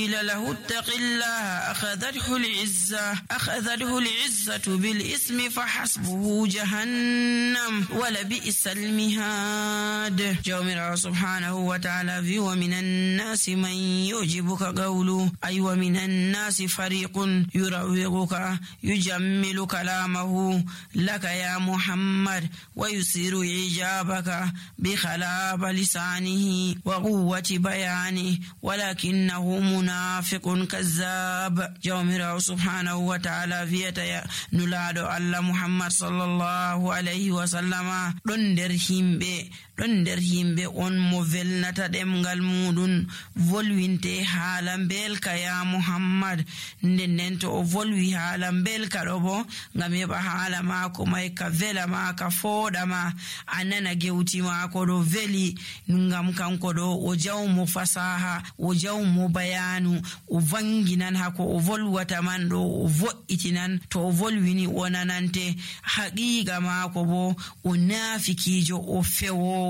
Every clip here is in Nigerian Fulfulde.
قيل له اتق الله أخذته العزة بالإثم فحسبه جهنم ولبئس المهاد. جومر سبحانه وتعالى في ومن الناس من يعجبك قوله أي ومن الناس فريق يروغك يجمل كلامه لك يا محمد ويثير إعجابك بخلاف لسانه وقوة بيانه ولكنه منافق كذاب. جومر سبحانه وتعالى فيتا نلادو الله محمد صلى الله عليه وسلم ɗon nder himɓe on mo velnata ɗemgal muɗum volwinte haala belka ya Muhammad. nden to o volwi haala belka ɗo bo ngam heɓa haala maako may ka vela ma ka fooɗa ma a nana gewti maako ɗo veli ngam kanko ɗo o jawmo fasaha o jawmo bayanu o vanginan hako o volwata man ɗo o vo'itinan to o volwini o nanante haqiqa maako bo o nafikijo o fewowo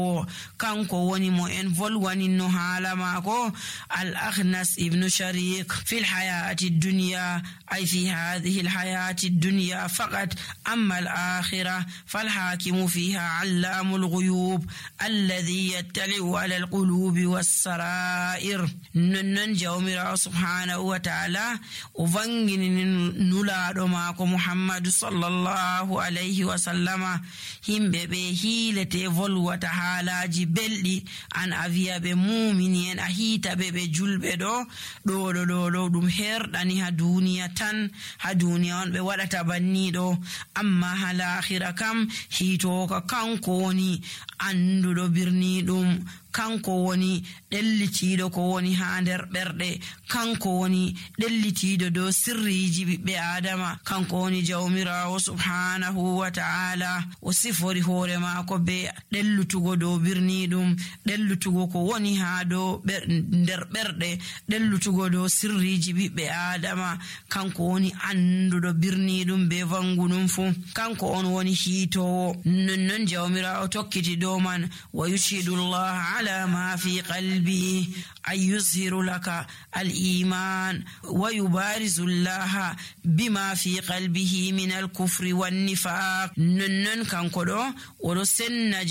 kanko woni mo en volwaninno haala maako. al-Akhnas ibn Shariq fi al-hayati ad-dunya ay fi hadhihi al-hayati ad-dunya faqat amma al-akhirah fal-hakimu fiha 'allamu al-ghuyub alladhi yattali'u 'ala al-qulubi was-sara'ir. non jawmira subhanahu wa ta'ala o vangini nulaado maako Muhammad sallallahu alayhi wa sallama himbe be hilete volwata haalaji beldi an aviya be mumini en a hita be julbe do dum herdani ha duniya tan ha duniya on be wadata banni do amma hal akhira kam hito ka kanko woni andudo birni dum kanko woni ɗellitiiɗo ko woni haa nder ɓerɗe kanko woni ɗellitiiɗo dow sirriiji ɓiɓɓe adama kanko woni jawmiraawo subhanahu wa ta'ala o sifori hoore maako be ɗellutugo dow birniiɗum ɗellutugo ko woni haa dow nder ɓerɗe ɗellutugo dow sirriiji ɓiɓɓe adama kanko woni annduɗo birniiɗum be vangunum fuu kanko on woni hiitowo. nonnon jawmiraawo tokkiti dow man wa yushhidullah على ما في قلبه أن يظهر لك الإيمان ويبارز الله بما في قلبه من الكفر والنفاق. ننن كنكدو ورسن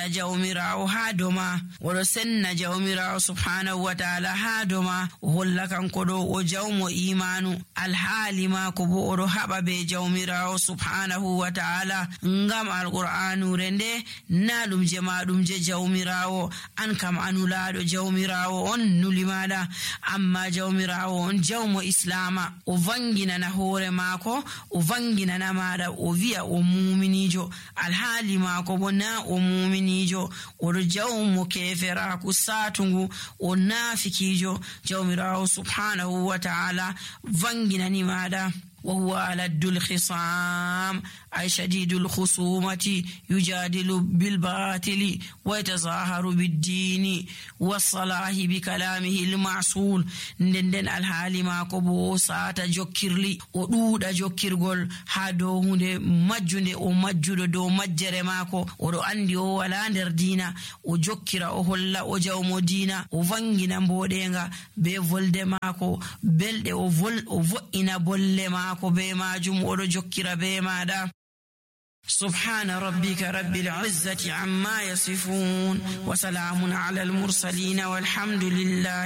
جومراو هادما ورسن جومراو سبحانه وتعالى هادما وهلا كنكدو وجوم إيمان الحال ما كبو رهب بجومراو سبحانه وتعالى ngam alqur'anu rende nalum jamaadum je jawmirawo an kam anulaado jawmirawo on nulimada amma jawmirawo on jawmo islama o vanginana hoore maako o vanginana maada o wi'a o muminijo alhaali maako bo na o muminijo o jawmo keferaku satungu o nafikijo jawmirawo subhanahu wa ta'ala vanginani maada وهو ألد الخصام أي شديد الخصومة يجادل بالباطل ويتظاهر بالدين والصلاح بكلامه المعصول. ندن الحال ما كبو ساتا جوكيرلي ودودا جوكيرغول هادو هونde majjunde o majjudo do majjere mako o do andi o wala nder dina o jokkira o holla o jawmo dina o vangina mbodenga be volde mako belde o vo'ina bolle mako be majum o do jokkira be maada. سبحان ربك رب العزة عما يصفون وسلام على المرسلين والحمد لله